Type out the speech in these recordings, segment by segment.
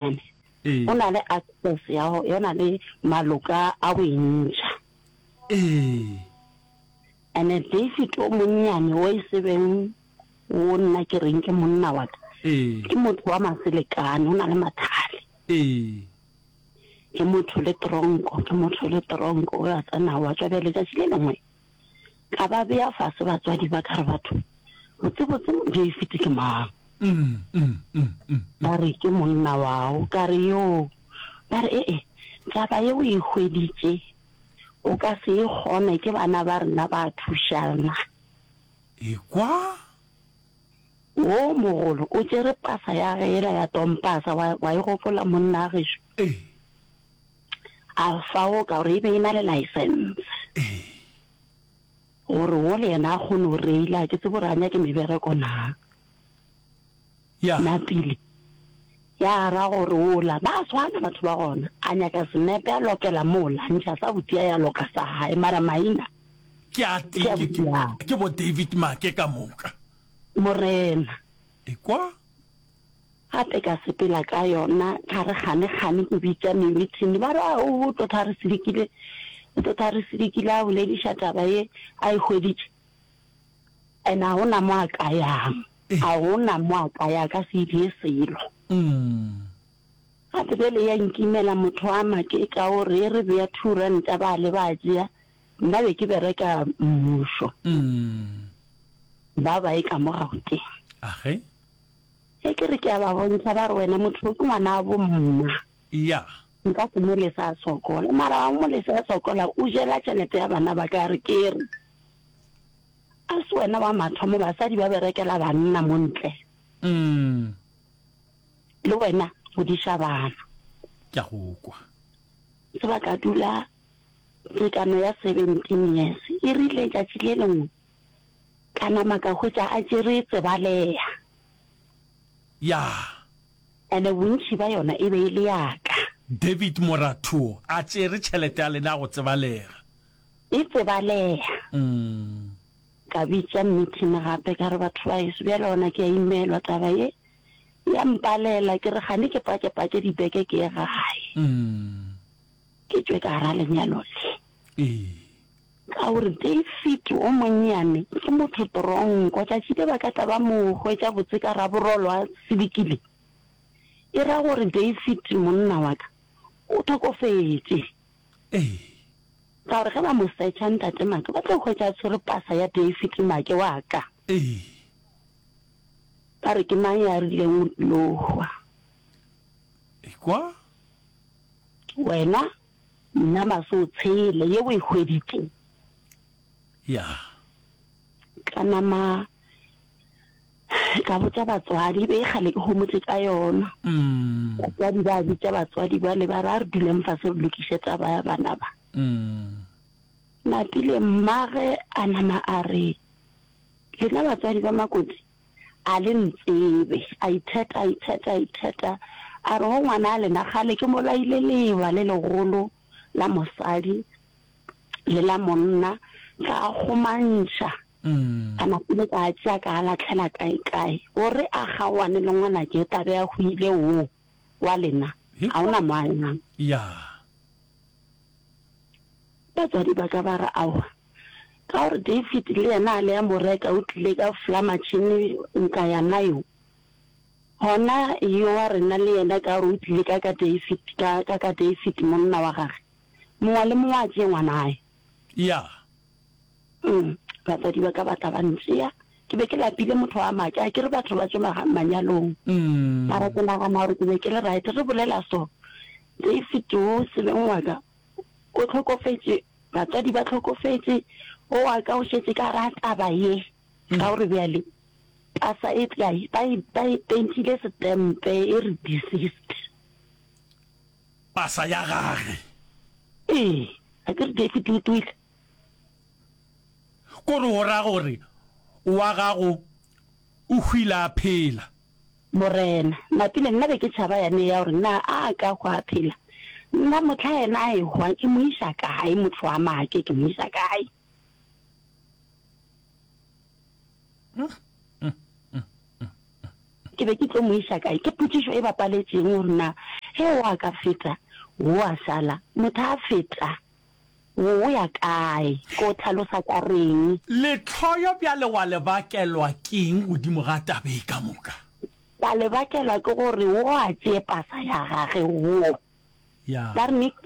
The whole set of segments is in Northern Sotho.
Ee. O na le access ya go, o na le maloka a go e ntšha. Ee. And-e David o monnyane o e se beng wo nna ke reng ke monna wa ka, Ee. ke motho wa maselekane, o na le mathale. Ee. Ke motho le tronko, ke motho le tronko, o a tsena wa tšwa. Bjale tšatši le lengwe ka ba bea fase batswadi ba ka re batho, botsebotse David ke mang? Ba re ke monna wao. Ka re yoo. Ba re ee, taba ye o e hweditše o ka se e kgone, ke bana ba rena ba thušana. Ekwa. Wo mogolo o tšere pasa ya ge yela ya tompasa, wa, wa e gopola monna gešo? Ee. A fao ka gore e be e na le license. Ee. Gore wo le yena a kgone go reila, ke tsebe gore a nyake mebereko na. Ya. Napile ya ra gore wola ba swana batho ba gona, a nyaka senepe a lokela mola, a ntšha sa botia ya loka sa hae, mara maina Ke a ke a ke, ke, botia. ke bo David Make ka moka. Morena. Ekwa. Gape ka sepela ka yona, ka re kgane kgane ke bitša meeting, ba re a o tlo tha re sedikile, o tlo tha re sedikile a bolediša taba ye a e hweditše. And a gona mo a ka yang, a gona mo a ka ya, a ka se die selo. Gape bjale ya nkimela motho wa makeka o re re bea thuranta ba le ba tšea, nna be ke bereka mmušo. Ba ba e ka mo Gauteng. Age. Ge ke re ke a ba bontšha ba re wena motho o ke ngwana bo mma. Ya. Nka se mo lese a sokola. Mara wa mo lese a sokola o jela tšhelete ya bana ba ka ya re ke re. A se wena wa mathomo basadi ba berekela banna mo ntle. Mm. Le wena godiša bana. Ke a go kwa. Se ba ka dula tekano ya 17 years. E rile tšatši le lengwe ka nama ka hwetša a tšere tsebalea. Ya. Ene bontši ba yona e be e le ya ka. David Morathuo a tšere tšhelete ya lena go tsebalega. E tsebalega. Ka bitša meeting gape ka re batho ba heso bjale gona ke a imelwa taba ye ya mpalela ke re kgane ke pakepake dibeke ke ye gae. Ke tšwe ka gara lenyalo le. Ka gore David o monnyane ke motho tronko, tšatši le ba ka tla ba mo hwetša botse ka raborolo a sebikile, e ra gore David monna wa ka o hlokofetše. Ka gore ge ba mo searcha Ntate Make, ba tlo hwetša a tshwere pasa ya David Make wa ka. Ba re ke mang ya rileng o tlilo hwa? Ekwa? Wena nna maso o tshele ye o e hweditše. Ya. Ka nama ka botša batswadi, e be e kgale ke homotše ka yona. Batswadi ba bitša batswadi bale ba re a re duleng fase re lokiše taba ya bana ba. Napile mmage a nama a re, Lena batswadi ba Makoti a le ntsebe. A itheta, a itheta, a itheta, a re go ngwana a lena kgale ke mo laile leeba le legolo la mosadi le la monna ka a kgomantšha. Ka napile ka a tšea ka a lahlela kaekae gore a kgaoane le ngwanake o tla be a hwile wo wa lena ga o na mo a yang. Batswadi ba ka ba re aowa ka gore David le yena a le a mo reka o tlile ka fla matšhini nka ya nayo gona yo wa rena le yena ka gore o tlile ka ka David ka ka ka David monna wa gage mongwe le mongwe a tšee ngwanae. Ya. Umm batswadi ba ka ba tla ba ntšea. Ke be ke lapile motho wa make, a ke re batho ba tšwe manyalong. Mara ke nagana gore ke be ke le right. Re bolela so, David wo sebeng wa ka o hlokofetše, batswadi ba hlokofetše, o wa ka o šetše ka ra taba ye. Ka gore bjale pasa e tla ba e ba e pentile setempe e re deceased. Pasa ya gage. Ee, a ke re David o twile. Kore o ra gore wa gago o hwile a phela? Morena, napile nna be ke tšhaba yane ya gore na a ka hwa a phela. Nna mohla yena a ehwa ke mo iša kae motho wa make ke mo iša kae? Ke be ke tlo mo iša kae? Ke potšišo e bapaletšeng gore na ge o a ka feta, wo a šala. Motho a feta, wo o ya kae? Ko hlalosa ka reng? Lehloyo bjale wa le bakelwa keng godimo ga taba e ka moka? Ka le bakelwa ke gore wo a tšee pasa ya gage wo. Ya. Ba re Nick,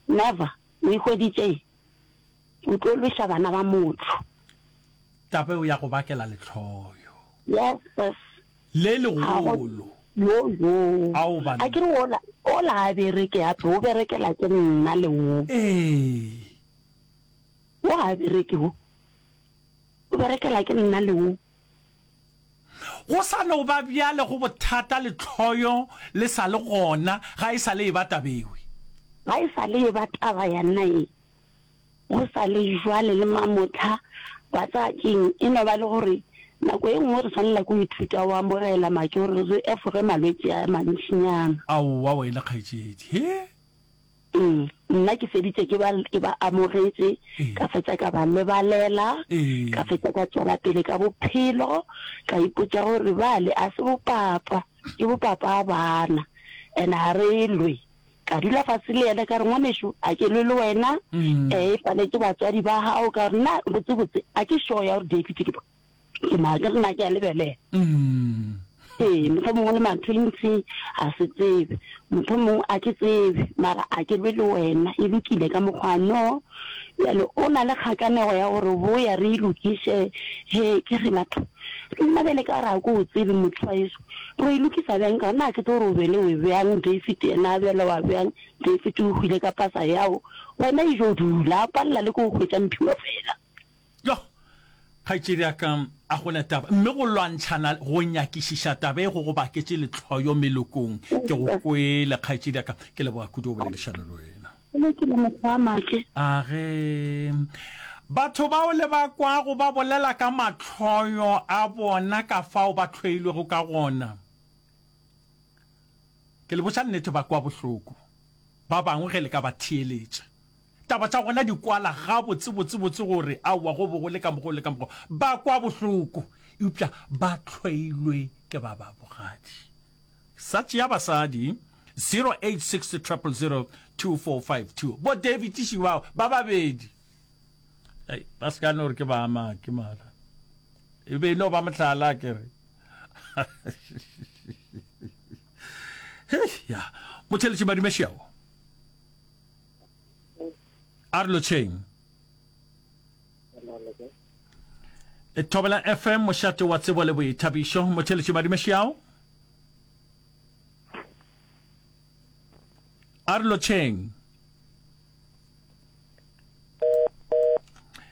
never, o e hweditše? O tlo lweša bana ba motho. Taba eo ya go bakela lehloyo. Yes, sis. Le legolo. Yo, yo. Ao banna. A ke re ola, ola a bereke hape, o berekela ke nna le wo. Ee. Wo ga a bereke wo. O berekela ke nna le wo. Go sa no ba bjale go bothata lehloyo le sa le gona, ga e sa le e ba taba ewe. Ga e sa le e ba taba ya nna e. Go sa le jwale le mamohla, wa tseba ke'ng, e no ba le gore nako e nngwe re swanela ke go ithuta go amogela make gore re efoge malwetši a mantšinyana. Aowa wena kgaetšedi, he? Ee, nna ke feditše ke ba, ke ba amogetše, ka fetša ka ba lebalela, ka fetša ka tšwela pele ka bophelo, ka ipotša gore bale a se bopapa, ke bopapa bana, and ga re lwe. Ka dula fase le yena ka re, Ngwanešu, a ke lwe le wena, ee, e paletše batswadi ba gago. Ka re, Nna botsebotse a ke sure ya gore David ke ke mang, ke re nna ke a lebelela. Ee, mohlomongwe le ma-twins a se tsebe, mohlomongwe a ke tsebe, mara a ke lwe le wena, e lokile ka mokgwa no. Bjale o na le kgakanego ya gore boya re e lokiše, he ke re batho, nna bjale ka gore a ke o tsebe motho wa heso, Ro e lokisa bjang? Ka na ke tlo re o be le we bjang, David yena a bjale wa bjang? David o hwile ka pasa yao, wena e jo dula, a palela le ke go hwetša mphiwa fela. Yoh! Kgaetšedi ya ka, a go na taba. Mme go lwantšhana, go nyakišiša taba e go go baketše lehloyo melokong. Ke go kwele, kgaetšedi ya ka. Ke leboga kudu go boledišana le wena. Go lokile mokgwa wa make. A ge batho bao le ba kwago ba bolela ka mahloyo a bona ka fao ba hloilwego ka gona, ke le botša nnete ba kwa bohloko. Ba bangwe ge le ka ba theeletša, taba tša gona di kwala gabotsebotsebotse gore aowa go be go le ka mokgwa o le ka mokgwa. Ba kwa bohloko, eupša ba hloilwe ke ba ba bogadi. Sa tšea basadi 086 000 2452. Bo David Shibao ba babedi. Ei, ba se ka no re ke ba make mara. E be e no ba mohlala ke re. Hei, ya. Motheletši Madumešeo. A re lotšheng. E Thobela FM mošate wa tsebo le boithabišo. Motheletši Madumešeo. A re lotšheng.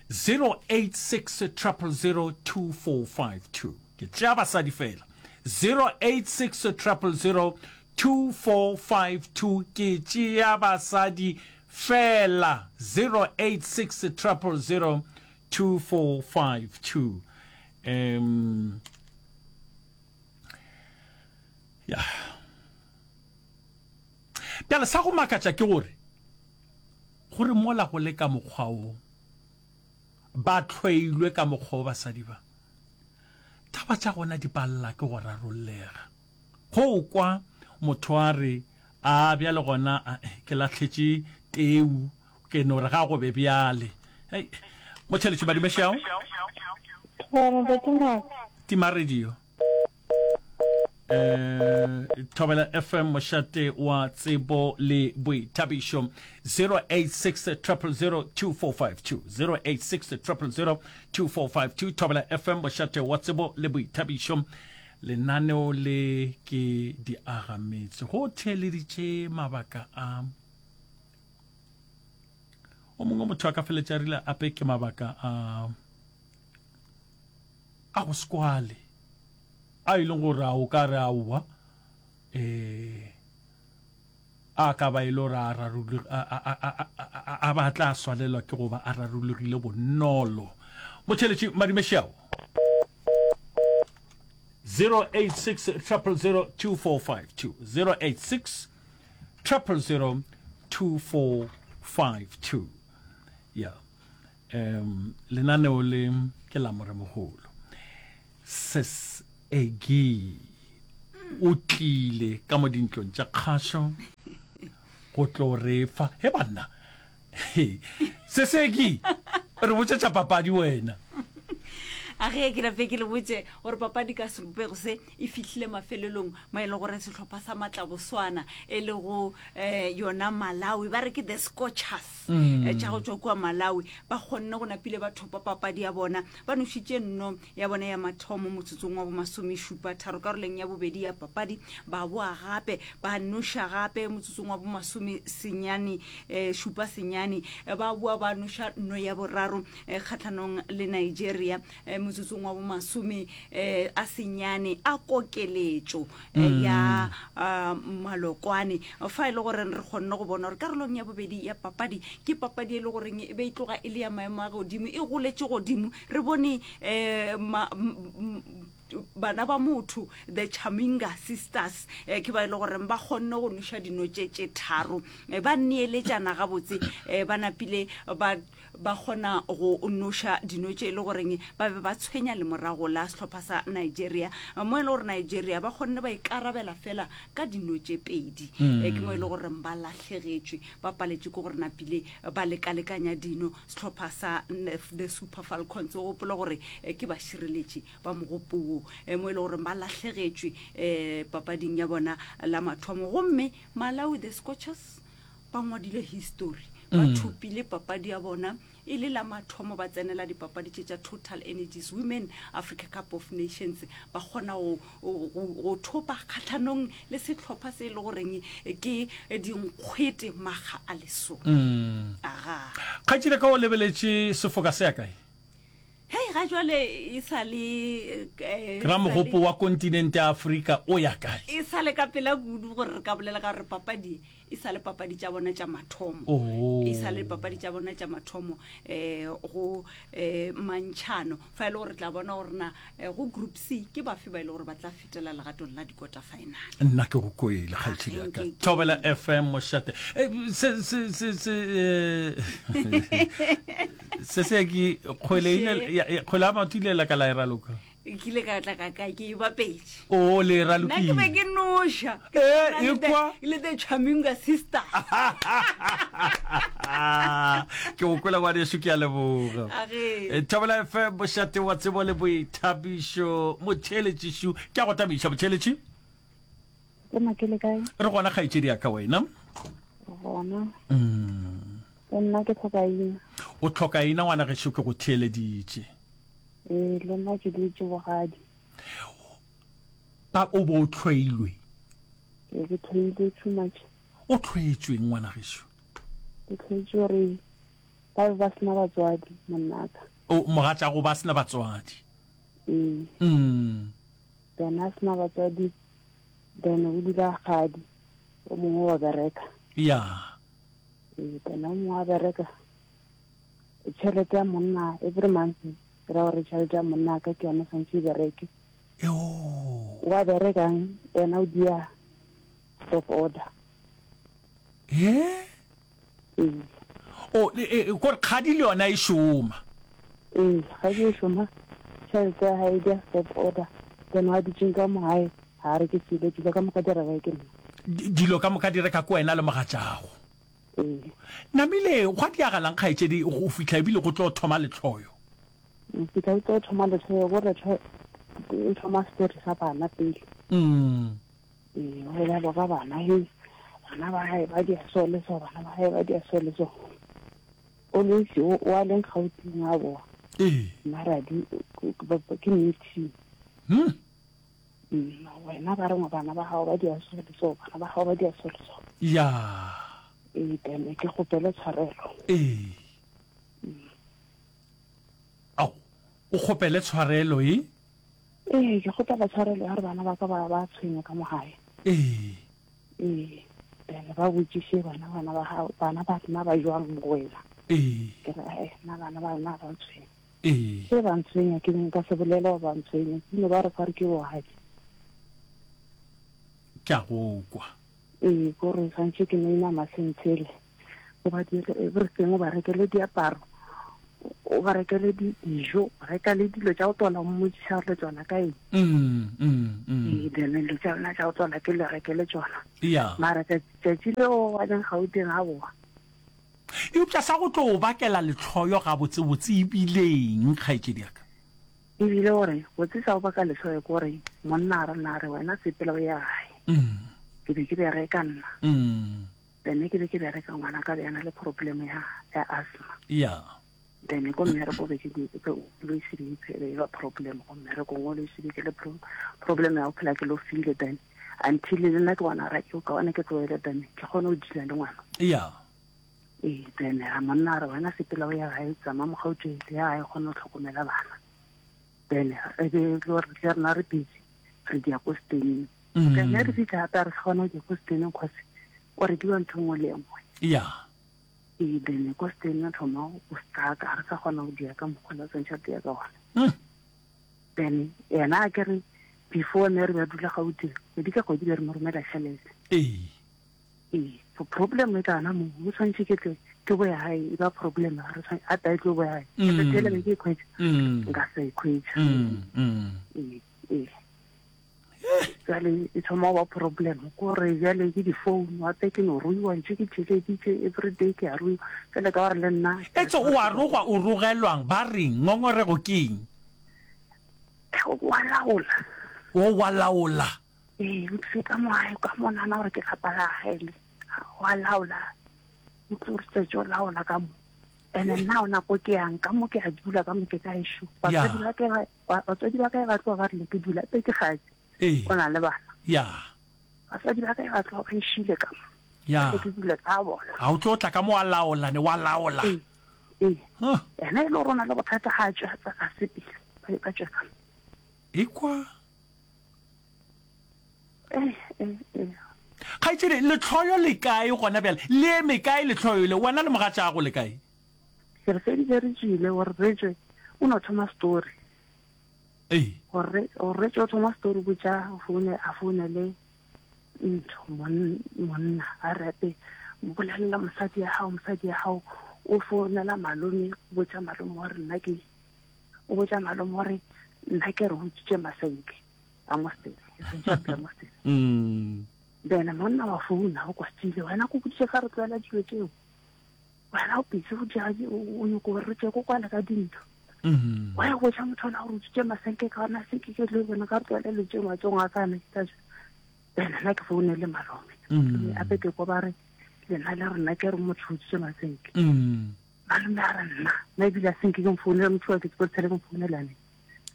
086 000 2452. Ke tšea basadi fela. 086 000 2452. Ke tšea basadi fela. 086 000 2452. Um, ya. Bjale sa go makatša ke gore, gore mola go le ka mokgwa wo, ba hloilwe ka mokgwa wo basadi ba, taba tša gona di palela ke go rarollega. Go kwa motho a re, A bjale gona ke lahletše teu, ke no re ga go be bjale. Hei, motheletši Madumešao. Tima radio. Eh, Thobela FM mošate wa tsebo le boithabišo 086 000 2452 086 000 2452 Thobela FM mošate wa tsebo le boithabišo lenaneo le ke di agametse go theeleditše mabaka a o mongwe motho a ka feletša rile ape ke mabaka a a go sekwale a e leng gore a o ka re aowa um a ka ba e le gore a ba tla swanelwa ke go ba a rarologile bonolo. Motheletši Madumešao. 086 000 2452 086 000 2452 ya um lenaneo le ke la moremogolo. Ses Egi. O tlile ka mo dintlong tša kgašo go tlo re fa. He banna, he, Seseki, re botše tša papadi wena. A ge ke nape ke le botše gore papadi ka sebopego se e fihlile mafelelong mo e le gore sehlopha sa matlaboswana e lego um yona Malawi ba re ke the Scorchers mm. Eh, tša go tšwa kua Malawi ba kgonne go napile ba thopa papadi ya bona ba nošitše nno ya bona ya mathomo motsotsong wa bomasomešupa tharo karoleng ya bobedi ya papadi ba boa gape ba noša gape motsotsong wa bomasome senyane eh, šupa senyane eh, ba boa ba noša nno ya boraro eh, kgatlhanong le Nigeria eh, motsotsong wa bomasome eh, a senyane a kokeletšo eh, ya ah, malokwane fa e le gore re kgonne go bona gore karolong ya bobedi ya papadi ke papadi e le goreng e be e tloga e le ya maemo a godimo e goletše godimo re bone um bana ba motho the chaminga sisters eh, ke ba e le goreng ba kgonne go noša dino tše tše tharo eh, ba neeletšana gabotse eh, ba napile ba ba kgona go noša dino tše e le goreng ba be ba tshwenya lemorago la sehlopha sa Nigeria mo e le gore Nigeria ba kgonne ba ikarabela fela ka dino tše pedi mm. Eh, ke mo e le goreng ba lahlegetšwe ba paletše ke gore napile ba lekalekanya dino sehlopha sa the Super Falcons o gopola gore eh, ke bašireletši ba mogopo wo eh, mo e le goreng ba lahlegetšwe um papading ya bona la mathomo gomme Malawi the Scorchers ba ngwadile history ba mm. thopile papadi ya bona e le la mathomo ba tsenela dipapadi tše tša Total Energies Women Africa Cup of Nations ba kgona go thopa kgatlhanong le sehlopha se e le goreng ke dinkgwete makga a lesome mm. aga kgaetšedi ka o lebeletše sefoka se ya kae hei ga jwale e sa le eh, ra mogopo wa kontinente ya Afrika o ya kae e sa le ka pela kudu gore re ka bolela ka gore papadi e sa le papadi tša bona tša mathomo oh. e sa le papadi tša bona tša mathomo um go um mantšhano fa e le gore tla bona gore na eh, go group c ke bafe ba e le gore ba tla fetela legatong la dikota final nna ke go kwele kgaetšedi ya ka thobela fm mošate se se se se se se ke kgwele ile kgwele ya maoto ile la ka la e raloka ke ile ka tla ka kae ke e bapetše o le ralokile nna ke be ke noša Eh, e kwa. le the chaminga sister ke go kwela ngwaneso ke a leboga Age. Eh, thobela fm mošate wa tsebo le boithabišo motheeletšišu ke a go tamiša motheeletši Ke makele kae? re gona kgaetšedi ya ka wena Gona. Mm. Le nna ke tlhoka ina. O tlhoka ina ngwana gešo ke go theeleditše. Ee, le nna ke dutše bogadi. Ba o bo o tlhoilwe? Ee, ke tlhoilwe too much. O tlhoetšweng ngwana gešo? Ke tlhoetšwe gore ba be ba sena batswadi monnaka. O mogatšago ba sena batswadi? Ee. Mm. Then a sena batswadi then o dula gadi o mongwe wa bereka. Ya. Ee, then o mongwe wa bereka tšhelete ya monna every month ke ra gore tšhelete ya monna ka ke yone swantse e bereke wa berekang wena o dia stop order e o e, kore kgadi le yona e šoma ee kgadi e šoma tšhelete ya gae dia stop order then wa dutseng ka mo gae ga re ke selo dilo ka moka di reka ke nna dilo ka moka di reka ke wena le mogatšago Ee. Namile, gwa diagalang kgaetšedi go fihla ebile go tlo thoma lehloyo? Go fihla go tlo thoma lehloyo, go re e thoma story sa bana pele. Mm. Ee, go bolela ka bana, he bana ba gae ba dia so le so, bana ba gae ba dia so le so. Always o a leng Gauteng a boa. Ee. Mara di ke meeting. Hmm. Mm, wena ba re bana ba gago ba dia so le so bana ba gago ba dia so le so ya ee then ke kgopele tshwarelo ee ao o kgopele tshwarelo e ee ke kgopela tshwarelo ya gore bana ba ka ba ba tshwenya ka mo gae ee ee then ba botšiše bana bana ba gago bana ba rena ba jwang mo go wena ee ke re ee nna bana ba rena ba ntshwenya Ee. Ge ba ntshwenya, ke be nka se bolele gore ba ntshwenya. Ke no ba re fa re ke bogadi. Ke a go kwa. Ee, ke gore santše ke no inama sentshele. O ba dire everything, o ba rekele diaparo. O ba rekele dijo, reka le dilo tša go tswala, o mmotšiša gore le tswala ka eng. Mm, mm, mm. Ee, then dilo tša lena tša go tswala ke le rekele tšona. Yeah. Mara tšatši leo wa leng Gauteng a boa. Eupša sa go tlo o bakela lehloyo gabotsebotse e bile eng, kgaetšedi ya ka? E bile gore botse sa go baka lehloyo ke gore monna a re na re wena sepela o ye gae. Mm. Ke be ke bereka nna. Mm. Then ke be ke bereka ngwana ka be a na le problem ya ya asthma. Yeah. Then ko mmereko be ke always be e ba problem go mmereko always be ke le problem ya go phela ke lo file then until le nna ke bona ra ke ka one ke tloele then ke kgone go dula le ngwana. Yeah. Ee, then a monna a re wena sepela o ya gae tsama mogauteng ya gae kgone go tlhokomela bana. Then e be le gore le rena re busy re dia ko steneng. Mm. Then re fitlha gape a re se gona go ko steneng cause o rekiwa ntho nngwe le nngwe. Yeah. Ee, then ko steneng thoma o stuck ga re sa kgona go dia ka mokgwa le tshwanetse re dia ka gona. Mm. Then yena a ke re before ne re ba dula Gauteng kgwedi ka kgwedi be re mo romela tšhelete. Ee. Ee, so problem e tla mo o tshwanetse ke tle ke boya gae e ba problem re tshwanetse a ta e tlo boya gae. Mm. Ke tshele be ke e khwetša. Mm. Nka se e khwetša. Mm. Mm. Ee, ee. Jale e thoma go ba problem kore jale ke di-phone gape ke no ruiwa ntse ke tšheleditše everyday ke a ruiwa jale ka gore le nna Etse o a rogwa o rogelwang ba reng ngongorego ke eng? wa laola. O wa laola. Ee, o tlile ka mo gae ka mo nana gore ke lapa la gae le wa laola o tlo re tsetse o laola ka mo ene nna o nako ke yang ka mo ke a dula ka mo ke ka ešo batswadi ba ke Batswadi ba ka ba tloga ba rile ke dula pe ke gatse. Ee. O na le bana. Ya. Batswadi ba ka ba tloga ba nšile ka mo. Ya. Ke dule ka bona. A o tlo tla ka mo wa laola ne wa laola. Ee. Ee. Huh. Ena e le gore o na le bothata ga a tswe a sepele. Ba tswe ka mo. Ekwa. Eh, eh, eh. Kgaetšedi, lehloyo le kae gona bjale? Le eme kae lehloyo le? Wena le mogatšago le kae? Ke re feditše re tšwile gore re tšwe o no thoma story. Ee. Gore gore re tšwe o thoma story botša foune a founele ntho monna a repe bolelela mosadi ya gago mosadi ya gago o founela malome o botša malome gore nna ke o botša malome gore nna ke re utswitše masenke a mosele e seng tšhelete ya mosele mm. then monna wa founa o kwatile wena ko boditše fa re tloela dilo tšeo wena o busy go dira o nyoko gore re tše ko kwale ka dintho mm. wa ya botša motho ona gore o tsutše masenke ka ona se ke ke tlo bona ka re tloela dilo tšeo matsong a kana ke tsa then nna ke founele malome mm. ape ke ko ba re lena le rena ke re motho o tsutše masenke mm. malome a re nna nna ebile a senke ke mfounele motho wa ke tsebo tshele ke mfounelane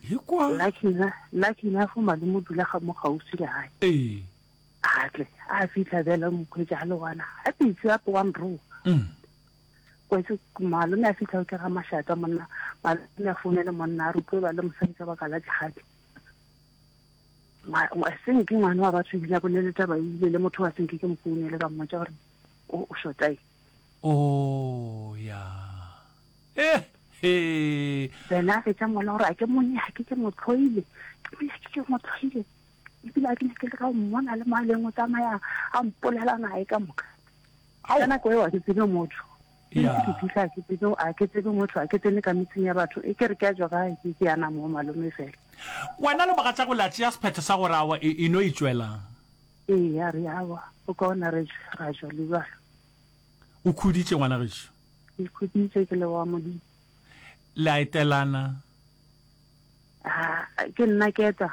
Ekwa. Lucky enough, lucky enough malome o dula ga mo gaufi le gae. Ee. A tle, a fitlha bjale o mokgwetša a le gona. A pitse a wa nroa. Mm. Kwetse malome a fitlha o ke ga mašata monna, malome a founele monna a re tlo ba le mosadi ka baka la jihadi. Senke ngwana wa batho ebile a bolele taba ebile le motho wa senke ke mo founele ka mmotša gore o o shota eng. Oh ya. Eh he. Then a fetša mola gore a ke mo nyake ke mo tlhoile. Ke mo nyake ke mo tlhoile. Ebile a ke nyake le ka go mmona le mo a leng o tsamaya a mpolela nae ka moka. Ka nako eo a ke tsebe motho. Ya. Ke fitlha ke tsebe a ke tsebe motho a ke tsene ka metseng ya batho e ke re ke a tšwa kae ke ke yana mo malome fela. Wena le mogatšago la tšea sephetho sa gore awa e no itšwelang. Ee ya re awa o kaone re tšwe ra tšwa le bjalo. O khuditše ngwana gešo? Ke khuditše ke leboga Modimo. Le a etelana? Ah, ke nna ke eta.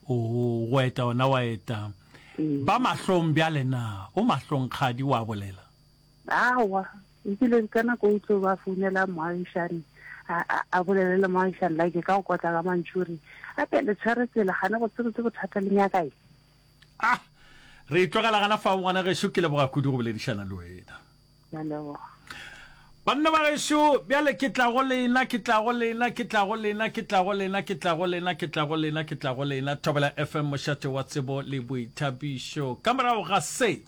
Oo, go eta ona wa eta. Ee. Ba mahlong bjale na? O mahlong kgadi wa bolela? Aowa, ebile ka nako o tlo ba founela moagišani a, a, a bolele le moagišani like ka go kotla ka mantšu re ape le tshwere tsela gane go tsebe tse bothata le nyaka eng. Ah, re e tlogela gana fao ngwana gešo, ke leboga kudu go boledišana le wena. Ke a leboga. Banna ba gešo, bjale ke tla go lena, ke tla go lena, ke tla go lena, ke tla go lena, ke tla go lena, ke tla go lena, ke tla go lena. Thobela FM, mošate wa tsebo le boithabišo. Ka morago ga se.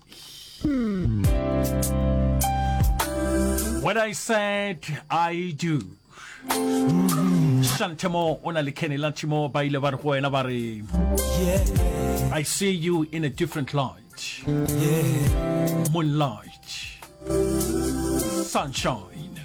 When I said I do. Shantemo o na le Kenny Latchimo ba ile ba re go wena ba re I see you in a different light. Moonlight. Sunshine.